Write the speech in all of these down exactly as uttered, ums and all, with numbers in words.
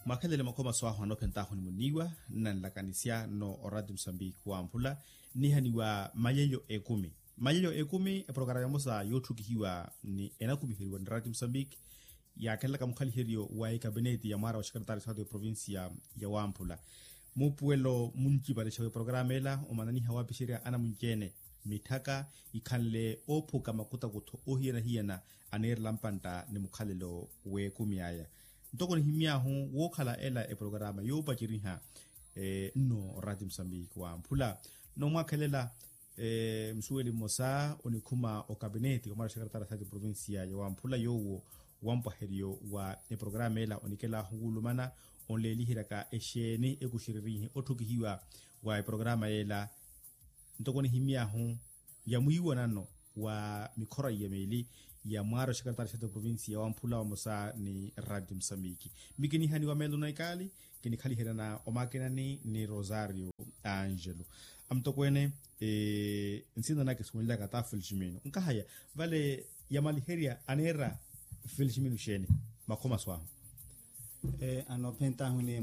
Mwakhelele makhomaso ahu anoophent'ahu ni muniiwa nnanlakanisya nno oradio musambiki wamphula nnihaniwa malelyo ekumi. Malelyo ekumi eprokarama emosa yootthukihiwa ni enakumiheriwa ni radio musambiki yaakhelelaka mukhaliheryo wa ekapineti ya mwaara wa xekretaari saatu eprovincia ya wamphula. Muupuwelo muncipale xa w'eprokarama ela omananiha waapixerya anamunci-ene mitthaka ikhanle oophuka makutakutho oohiyana-hiyana aniirela mpantta ni mukhalelo w'ekumi aya. Ntoko nihimy'ahu wookhala ela eprokarama yoopaceriha nno oraati musambiki wamphula. Nno mwaakhelela musuweli mmosa onikhuma okapineti wa mwaara xekretaari saati eprovincia ya wamphula yoowo wampwaheryo wa eprokarama ela onikelahu wuulumana onleeliheryaka exeeni ekuxererihi otthukihiwa wa eprokarama ela. Ntoko nihimy'ahu ya mwiiwanano wa mikhora iya miili ya mwaari oxekretaari xeto provincia wamphula vamosa ni radio musambiki. Mi kinihaniwa meelo na ikaali kinikhaliheryana omakinani ni rosario angelo. Amutokweene nsina naka esuwenlyaka ta feliximino nkahaya vale yamaliherya aneera feliximino xeeni? Makhomaso ahu. Anoophent'ahu ni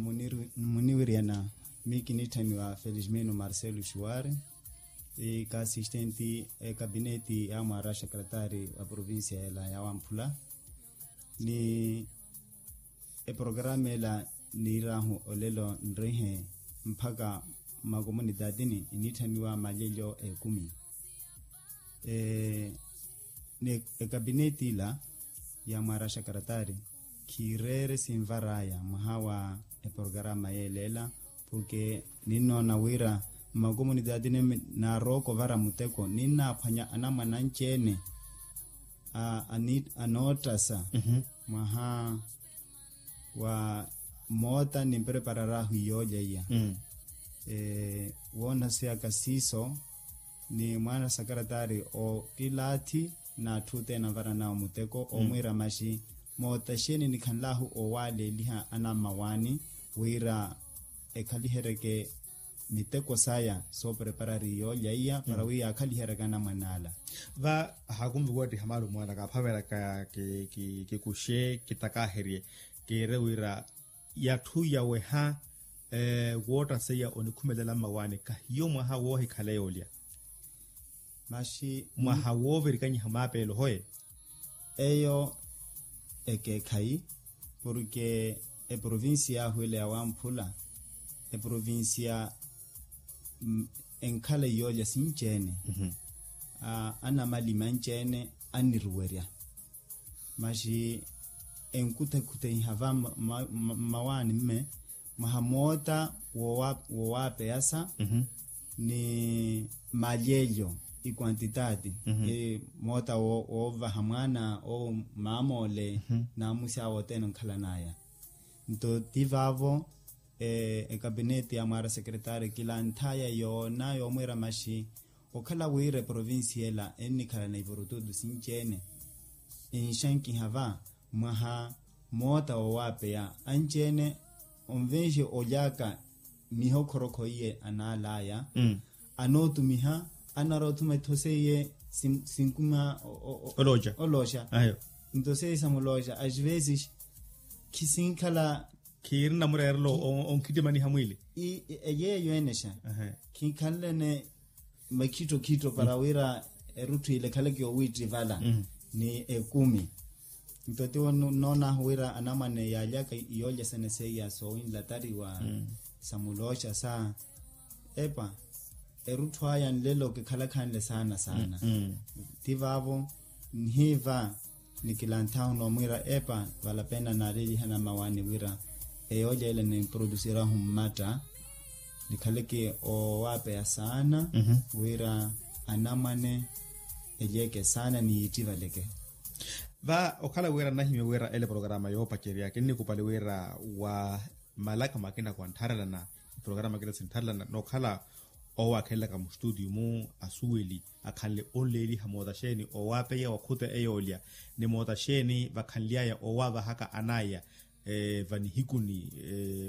muniwiryana mi kinitthamiwa feliximino marcelo xuwari, ikaasistenti ekapineti ya mwaara xekretaari wa provincia ela ya wamphula ni eprokarama ela niir'ahu olelo nrihe mpakha mmakomunitaatini enitthamiwa malelyo ekumi. Ni ekapineti ila ya mwaara xekretaari khiireere sinvar'aya mwaha wa eprokarama yeela ela porke ninnoona wira mmakomunitaatini naarooko ovara muteko ninnaaphwanya anamwane anci-ene anootthasa mwaha wa moota ni mpreparar'ahu iyoolya iya. Woonasyaka siiso ni mwaana xekretaari okilaathi n'atthu othene anvaran'awe muteko omwiira maxi moota xeeni nikhanl'ahu owaaleeliha anammawaani wira ekhaliheryeke miteko saya soopreparari yoolya iya para wi yaakhaliheryaka anamwane ala. Va haakunvi kuwattiha maalo mwaana kaaphaveraka kikuxe kitakaherye kiire wira yatthu yaweha wootta seiya onikhumelela mmawaani kahiyo mwaha woohikhala yoolya. Maxi mwaha woovirikanyiha maapeelo hoye. Eyo ekeekhayi porke eprovincia yaahu ela ya wamphula eprovincia enkhala iyoolya sinci-ene anamalimi anci-ene anniruwerya maxi enkuthekhuthehiha va mmawaani mme mwaha moota wowaapeyasa ni malyelyo ikwantitaati moota woovaha mwaana owo maamoole n'amusi awe othene onkhalan'aya. Nto ti vaavo ekapineti ya mwaara sekretaari kilantth'aya yoona yoomwiira maxi okhala wira eprovincia ela ennikhalana ipurututu sinci-ene enxankiha va mwaha moota wowaapeya anci-ene onvenxe olyaka mihokhorokho iye anaal'aya anootumiha anarwa othuma etho seiye sinkuma olooxa. Nto seiye samulooxa as vezes khisinkhala khiiri namureerelo onkhittimaniha mwiili. Yeeyo enexa khinkhanlene makhittokhitto para wira erutthu ile ekhaleke yoowiittivala ni ekumi. Nto tiwo nnoon'ahu wira anamwane yaalyaka iyoolya sene seiya soowinlatariwa samulooxa sa epa erutthu aya nlelo kikhalakhanle saana saana. Ti vaavo nhi va nikilanthahu noomwiira epa vala pena naalelihana mmawaani wira eyoolya ela niprodusirehu mmatta nikhaleke owaapeya saana wira anamwane elyeke saana ni yiittivaleke. Va okhala wira nnahimya wira ele programa yoopacerya kinnikupali wira wa malaka makina kwantharelana programa kina sintharelana nookhala owaakhelelaka mustutio-mu asuweli akhanle onleeliha moota xeeni owaapeya wakhuta eyoolya ni moota xeeni vakhanly'aya owaavahaka an'aya vanihikuni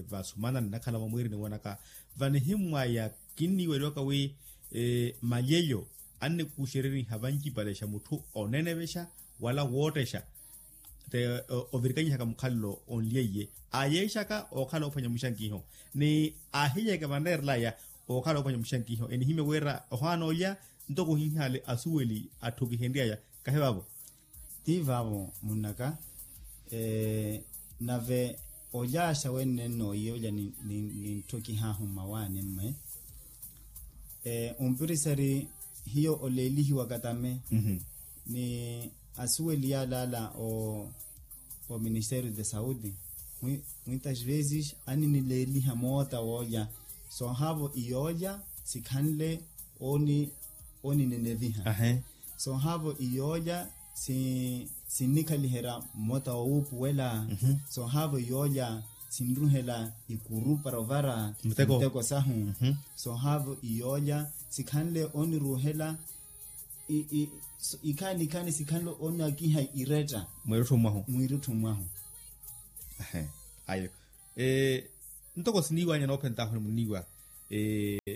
vasumana nnakhala mwamwiiri niwonaka vanihimmw'aya kinniiweliwaka wi malyelyo annikuxereriha vancipalexa mutthu onenevexa wala woottexa te ovirikanyihaka mukhalelo onlyeiye aayeexaka ookhala oophwanya muxankiho ni aahiyeeke vanreerelaya ookhala oophwanya muxankiho enihimya wira ohaana olya ntoko ohinhaale asuweli atthu kihenryaya kahi vaavo. Ti vaavo munnaka. Nave olyaxa wenne nnooiye olya nintthokihaahu mmawaani mme. Ompirisari hiyo oleelihiwaka tame ni asuweli yaalaala o ministério de saúde muitas vezes aninileeliha moota woolya soohaavo iyoolya sikhanle oninineviha. Soohaavo iyoolya sinnikhaliherya mmota wowuupuwela. Soohaavo iyoolya sinruhela ikuru para ovara muteko sahu. Soohaavo iyoolya sikhanle oniruuhela ikhaani ikhaani sikhanle onakiha iretta mwiirutthu mwahu. Ayo. Ntoko siniiwanya noophentaahu ni muniiwa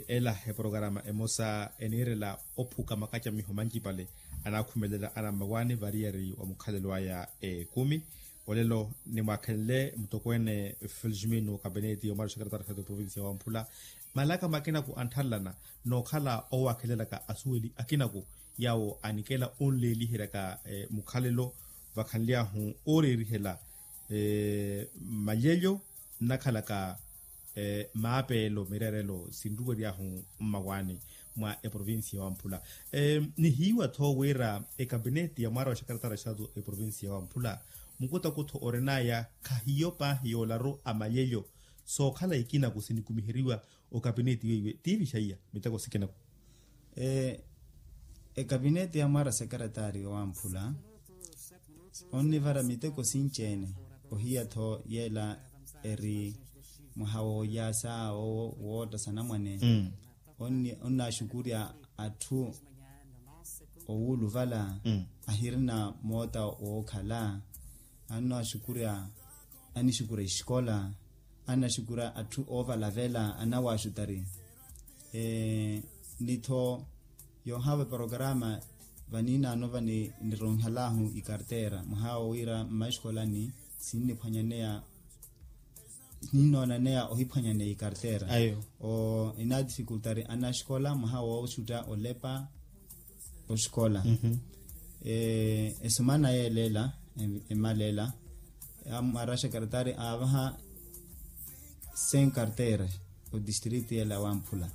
ela eporokarama emosa eniirela ophuka makacamiho mancipale anaakhumelela anammawaani variyari wa mukhalelo aya ekumi. Olelo nimwaakhenle mutokweene felixmino kapineti yomwaari oxekeretari xatu provincia ya wamphula malaka makinaku antthanlana nookhala owaakhelelaka asuweli akinaku yaawo anikela onleeliheryaka mukhalelo vakhanly'ahu ooreerihela malyelyo nnakhalaka maapeelo mireerelo sinruwery'ahu mmawaani mwa eprovincia ya wamphula. Nihiiwa-tho wira ekapineti ya mwaara wa xakaratara xatu eprovincia ya wamphula mukutakutho orin'aya khahiyo paahi yoolaru a malyelyo sookhala ikinaku sinikumiheriwa okapineti weiwe tiivixa iya miteko sikinaku. Ekapineti ya mwaara sekaretari wamphula onnivara miteko sinci-ene ohiya-tho yeela eri mwaha woolyaasa wootta sanamwane. Onnaaxukurya atthu owuuluvala ahirina moota wookhala annaaxukurya anixukurya exikola annaxukurya atthu oovalavela anawaaxutari. Ni-tho yoohaava eporokarama vaniinaano vanironhalahu ikartera mwaha wowira mmaxikolani sinniphwanyaneya sininoonanaya ohiphwanyaneya ikartera. Inaatifikultari anaxikola mwaha wooxutta olepa oxikola. Esumana yeela ela emala ela amwaraxa kartari aavaha sen kartera odistritu yeela wamphula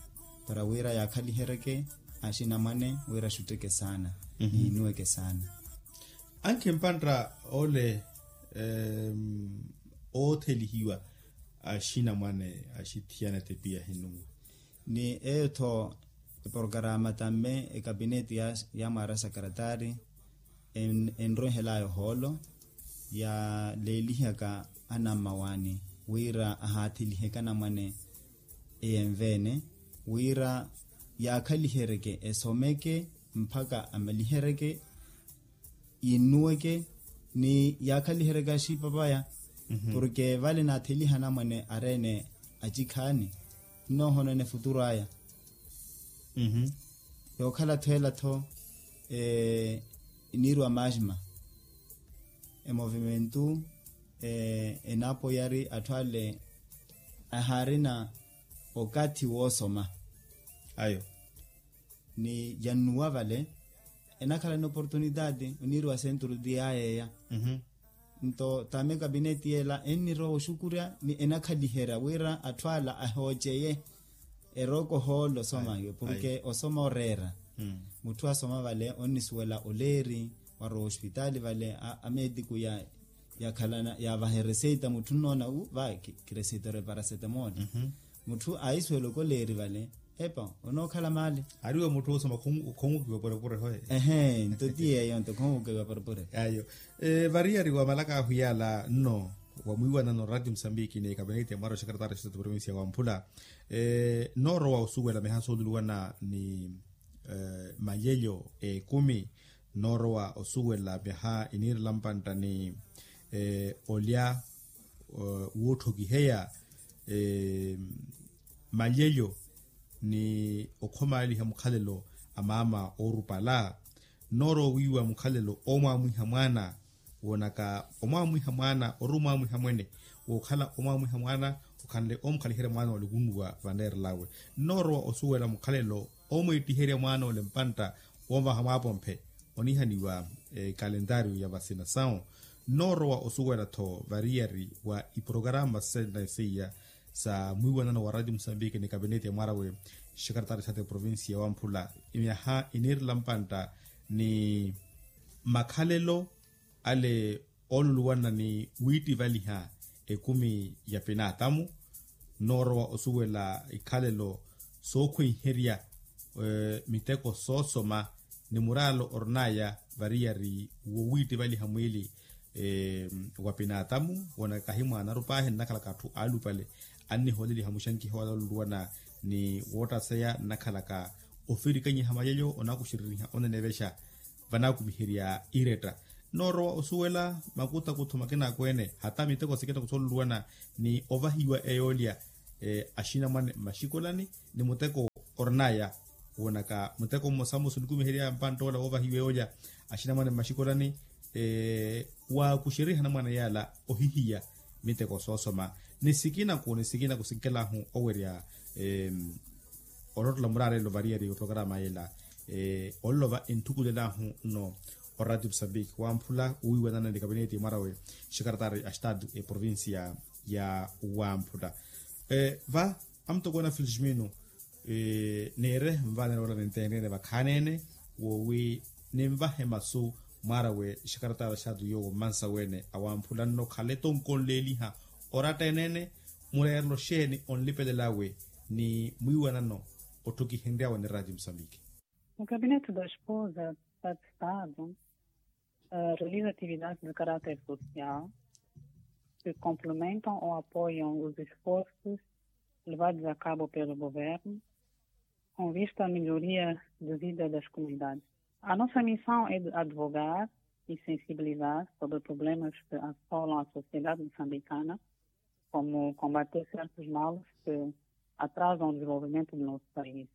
para wira yaakhaliheryeke axinamwane wira axutteke saana niinuweke saana. Ankhe mpantta ole oothelihiwa axinamwane axithiyana etepiya ahinnuwa. Ni eyo-tho eporokarama tamme ekapineti ya mwaara sakaratari enroihel'aya ohoolo yaaleelihaka anammawaani wira ahaatheliheke anamwane eyenve-ene wira yaakhaliheryeke esomeke mpakha amaliheryeke yinnuweke ni yaakhaliheryeke axipapaya. Porke vale naatheliha anamwane ari-ene acikhaani nnoohonona efuturu aya. Yookhala-tho ela-tho eniiriwa maxima emovimentu enaapoyari atthu ale ahaarina okathi woosoma. Ayo ni yannuwa vale enakhala ni oportunitati oniiriwa senturu ti yaayeeya. Nto tame kapineti yeela ennirowa oxukurya ni enakhaliherya wira atthu ala ahooceye erooka ohoolo osoma iwe porke osoma oreera. Mutthu asoma vale onnisuwela oleeri warowa ospitaali vale ameetiku yakhalana yaavaha ereseita mutthu nnoona u va kireseita ore paracetamol. Mutthu aisuwela okoleeri vale epa onookhala maali. Ariwe mutthu osoma khongukiwa porepore hoye. Ehe nto ti yeeyo nto khongukiwa porepore. Ayo. Variyari wa malaka ahu yaala nno wamwiiwanano rati musambiki ni ekapineti ya mwaara oxakaratara xitatu provincia ya wamphula noorowa osuwela miha sooluluwana ni malyelyo ekumi noorowa osuwela miaha iniirela mpantta ni olya wootthokiheya malyelyo ni okhomaaliha mukhalelo a maama oorupala noorowa wiiwa mukhalelo oomwaamwiha mwaana woonaka omwaamwiha mwaana ori omwaamwiha mwene, wookhala omwaamwiha mwaana okhanle omukhalihirya mwaana wa lukunuwa vaneerelawe. Nnoorowa osuwela mukhalelo omweettiherya mwaana ole mpantta woovaha mwaapomphe oniihaniwa ekalentaariyo ya vasina sawo. Nnoorowa osuwela-tho variyari wa iporokaramu sena seiya sa mwiiwanano wa ratio musambiki ni kapineti ya mwarawe, xekaretari xaati provincia ya wamphula, myaha iniirela mpantta ni makhalelo ale ooluluwana ni wiittivaliha ekumi ya pinaatamu. Nnoorowa osuwela ikhalelo sookhweiherya miteko soosoma ni muraalo orinaya variyari wowiittivaliha mwiili wa pinaatamu woonaka kahi mwaanaru paahi nnakhalaka atthu aalupale annihooleliha muxankiho ale ooluluwana ni woottaseya nnakhalaka ofirikanyiha mayalyo onakuxereriha onenevexa vanaakumiherya iretta. Noorowa osuwela makutakutho makinakweene hata miteko sikina kusololuwana ni ovahiwa eyoolya axinamwane mmaxikolani ni muteko orinaya woonaka muteko mmosa mmosa onikumiherya mpanttoola woovahiwa eyoolya axinamwane mmaxikolani waakuxeriha anamwane yaala ohihiya miteko soosoma ni sikinaku ni sikinaku sinkelahu owerya olottola muraarelo variyari oprograma yela. Ololova enthukulelahu nno oradio musambiki wamphula owiiwanana ni kapineti mwarawe xekaretari a estado eprovincia ya wamphula. Va amutokweene felixmino niire nvaanela ola ninteenreene vakhaneene woowi ninvahe masu mwarawe xekaretari a estado yoowo mmansa weene awamphula nno khale tonkonleeliha oratta eneene mureerelo xeeni onlipelelawe ni mwiiwanano otthukihenryawe ni radio musambiki. O gabinete da esposa, da estado realiza atividades de caráter social, que complementam ou apoiam os esforços levados a cabo pelo governo com vista à melhoria de vida das comunidades. A nossa missão é de advogar e sensibilizar sobre problemas que assolam a sociedade moçambicana, como combater certos males que atrasam o desenvolvimento do nosso país.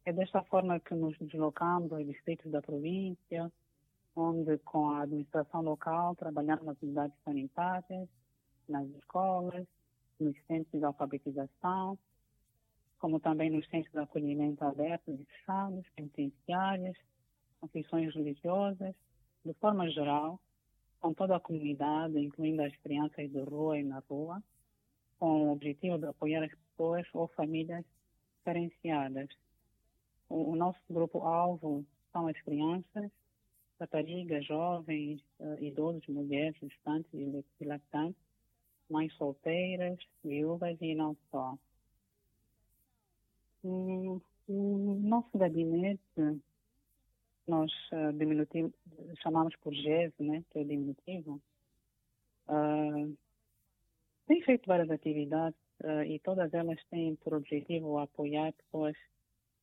É desta forma que nos deslocamos aos distritos da província, onde com a administração local trabalhamos nas unidades sanitárias, nas escolas, nos centros de alfabetização, como também nos centros de acolhimento abertos e fechados, penitenciárias, confissões religiosas, de forma geral, com toda a comunidade, incluindo as crianças de rua e na rua, com o objetivo de apoiar as pessoas ou famílias carenciadas. O, o nosso grupo-alvo são as crianças, raparigas, jovens, idosos, mulheres, gestantes e lactantes, mães solteiras, viúvas e não só. O, o nosso gabinete, nós diminutivo, chamamos por GES, né, que é o diminutivo, tem feito várias atividades e todas elas têm por objetivo apoiar pessoas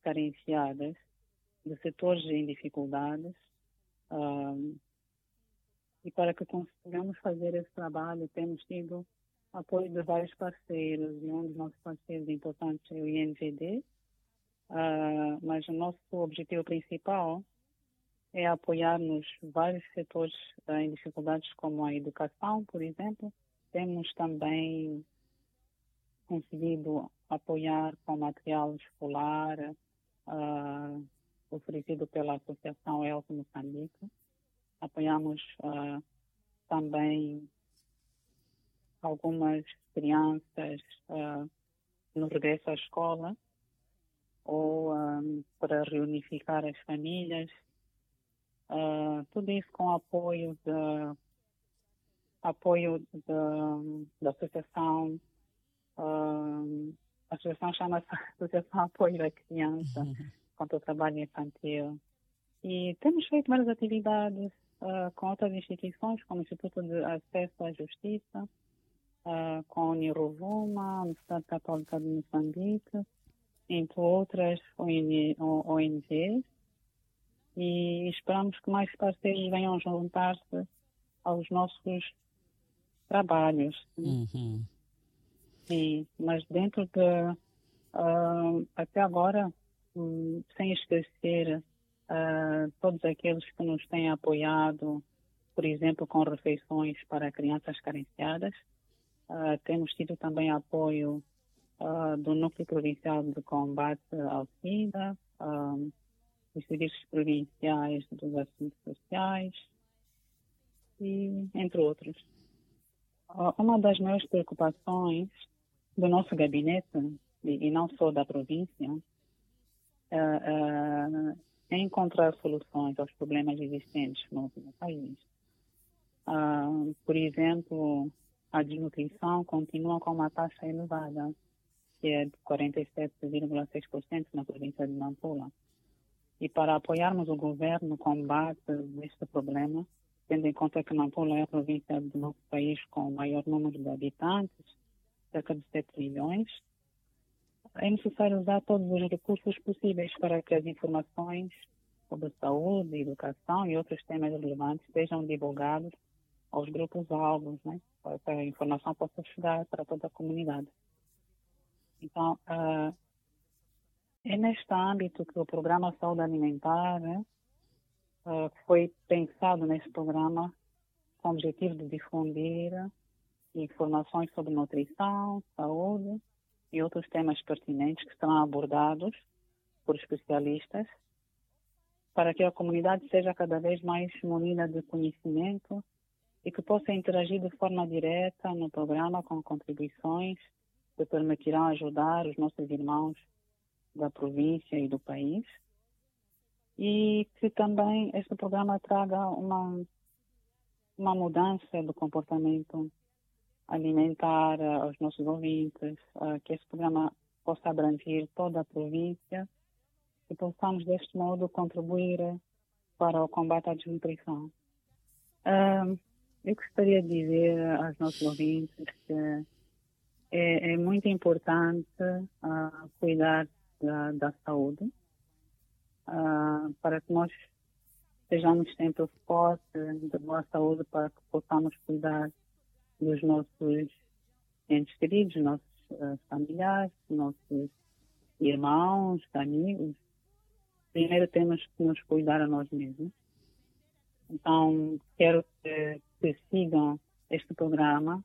carenciadas, de setores em dificuldades, e para que consigamos fazer esse trabalho, temos tido apoio de vários parceiros, e um dos nossos parceiros importantes é o I N G D, mas o nosso objetivo principal é apoiar-nos vários setores em dificuldades, como a educação, por exemplo. Temos também conseguido apoiar com material escolar oferecido pela Associação Elco Moçambique. Apoiamos também algumas crianças no regresso à escola ou para reunificar as famílias. Tudo isso com apoio da, apoio da, da associação, a associação chama-se Associação Apoio da Criança contra o Trabalho Infantil. E temos feito várias atividades com outras instituições, como o Instituto de Acesso à Justiça, com a Uniruvuma, a Universidade Católica de Moçambique, entre outras O N, O N Gs, e esperamos que mais parceiros venham juntar-se aos nossos trabalhos. Sim, mas dentro de, até agora, sem esquecer todos aqueles que nos têm apoiado por exemplo com refeições para crianças carenciadas. Temos tido também apoio do núcleo provincial de combate ao sida, dos serviços provinciais dos assuntos sociais, entre outros. Uma das maiores preocupações do nosso gabinete, e não só da província, é encontrar soluções aos problemas existentes no país. Por exemplo, a desnutrição continua com uma taxa elevada, que é de quarenta e sete vírgula seis por cento na província de Nampula. E para apoiarmos o governo no combate a este problema, tendo em conta que Nampula é a província do nosso país com o maior número de habitantes, cerca de sete milhões, é necessário usar todos os recursos possíveis para que as informações sobre saúde, educação e outros temas relevantes sejam divulgados aos grupos-alvos, né? Para que a informação possa chegar para toda a comunidade. Então, é neste âmbito que o programa Saúde Alimentar, né, foi pensado neste programa com o objetivo de difundir informações sobre nutrição, saúde e outros temas pertinentes que serão abordados por especialistas, para que a comunidade seja cada vez mais munida de conhecimento e que possa interagir de forma direta no programa com contribuições que permitirão ajudar os nossos irmãos da província e do país, e que também este programa traga uma, uma mudança do comportamento alimentar aos nossos ouvintes, que este programa possa abranger toda a província e possamos, deste modo, contribuir para o combate à desnutrição. Eu gostaria de dizer aos nossos ouvintes que é, é muito importante cuidar da, da saúde, para que nós sejamos sempre fortes, de boa saúde, para que possamos cuidar dos nossos entes queridos, nossos familiares, nossos irmãos, amigos. Primeiro temos que nos cuidar a nós mesmos. Então, quero que, que sigam este programa.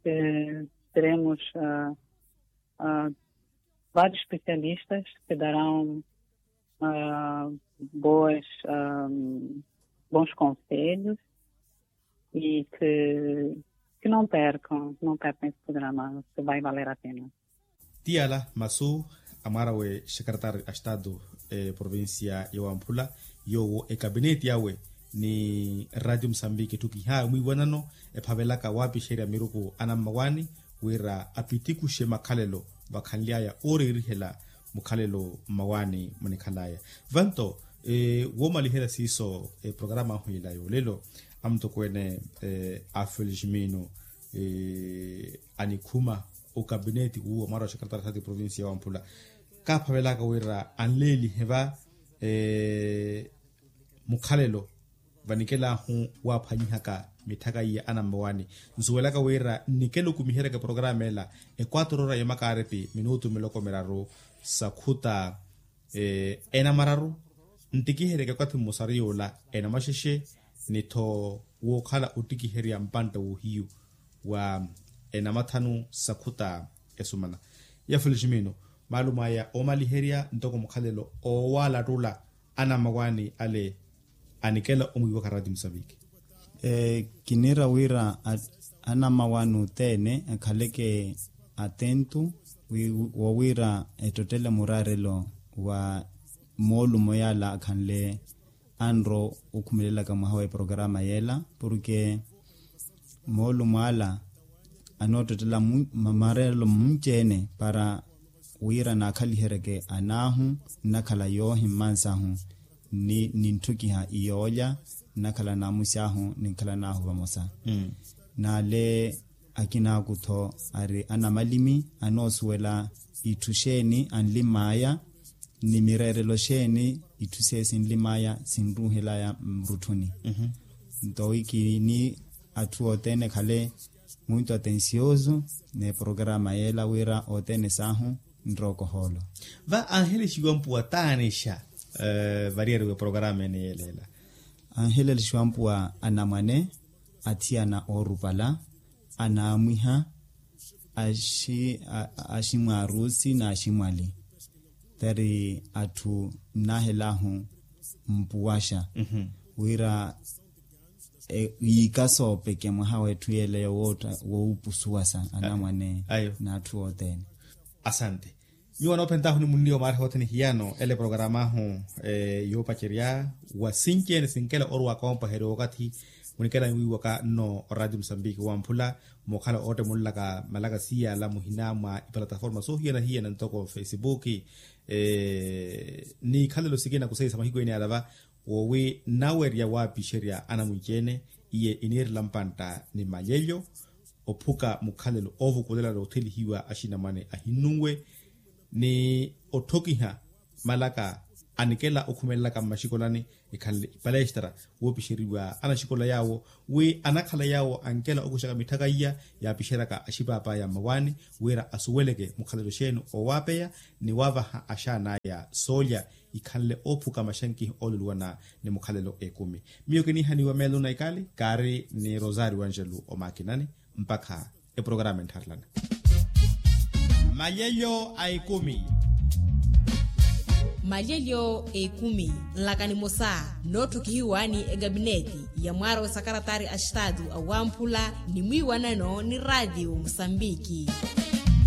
Teremos vários especialistas que darão boas, bons conselhos e que, que não percam, não percam esse programa, que vai valer a pena. Ti ala masu a mwaara we xekretari a estatu eprovincia ya wamphula, yoowo ekapineti awe ni ratio musambiki etthukihaawe mwiiwanano ephavelaka waapixerya miruku anammawaani wira apitikuxe makhalelo vakhanly'aya ooreerihela mukhalelo mmawaani munikhal'aya. Vanto woomaliherya siiso eprograma ahu ila yoolelo, amutokweene a feliximino anikhuma okapineti wuuwa mwaara wa xekretari a estatu eprovincia ya wamphula, kaaphavelaka wira anleelihe va mukhalelo vanikelahu waaphwanyihaka mitthaka iya anammawaani. Nsuwelaka wira nnikela okumiheryaka eprograma ela ekwatoro ora ya makaaripi minutu miloko miraru sakhuta enamararu. Ntikiheryaka ekwathi mmosaru yoola enamaxexe ni-tho wookhala ottikiherya mpantta woohiyu wa enamathanu sakhuta esumana. Ya feliximino maalumo aya oomaliherya ntoko mukhalelo oowalattula anammawaani ale anikela omwiiwaka raati musaviki. Kiniira wira anammawaani othene akhaleke atento woowira ettottele muraarelo wa moolumo yaala akhanle anro okhumelelaka mwaha wa eprograma yeela porke moolumo ala anoottottela maraarelo munci-ene para wira naakhaliheryeke anaahu nnakhala yoohi mmansahu ni nintthukiha iyoolya nnakhala naamusi ahu ninkhalan'ahu vamosa. Naale akinaakhu-tho ari anamalimi anoosuwela itthu xeeni anlim'aya ni mireerelo xeeni itthu seiyo sinlim'aya sinruuhel'aya murutthuni. Nto wi kini atthu othene ekhale muito atencioso n'eprograma yeela wira othene saahu nrooko ohoolo. Va anhelexiwa mpuwa taanexa variyari w'eprograma ene yeela ela anhelelixiwa ampuwa anamwane, athiyana oorupala, anaamwiha, aximwaarusi n'aximwali. Tari atthu nnaahel'ahu mpuwaxa wira yiika soopeke mwaha w'etthu yeeleyo woopusuwasa anamwane n'atthu othene. Asante. Nyuwo anoophent'ahu ni munniwa maariha othene hiyano ele programa ahu yoopacerya wa sinci-ene sinkela orwa koompaherya wakathi munikela wiiwaka nno oradio musambiki wamphula mookhala ootte munlaka malaka siyala muhina mwa ipalataforma soohiyana-hiyana ntoko fesipuki ni ikhalelo sikina kuseisa mahiku ene alava wowi nnawerya waapixerya anamwinci-ene iye iniirela mpantta ni malyelyo ophuka mukhalelo oovukulela noothelihiwa axinamwane ahinnunwe ni otthokiha malaka anikela okhumelelaka mmaxikolani ikhanle ipalestra woopixeriwa anaxikola yaawo wi anakhala yaawo ankela okuxaka mitthaka iya yaapixeryaka axipaapaaya mmawaani wira asuweleke mukhalelo xeeni owaapeya ni waavaha axaan'aya soolya ikhanle oophuka maxankihi ooluluwana ni mukhalelo ekumi. Miyo kiniihaniwa meelo na ikali kaari ni rosario angelo omakinani mpakha eprograma enttharelana. Malyelyo a ekumi. Malyelyo a ekumi nlaka nimosa nootthokihiwa ni ekapineti ya mwaaro wa sakaratari a estatu awamphula ni mwiiwanano ni raatiyo musambiki.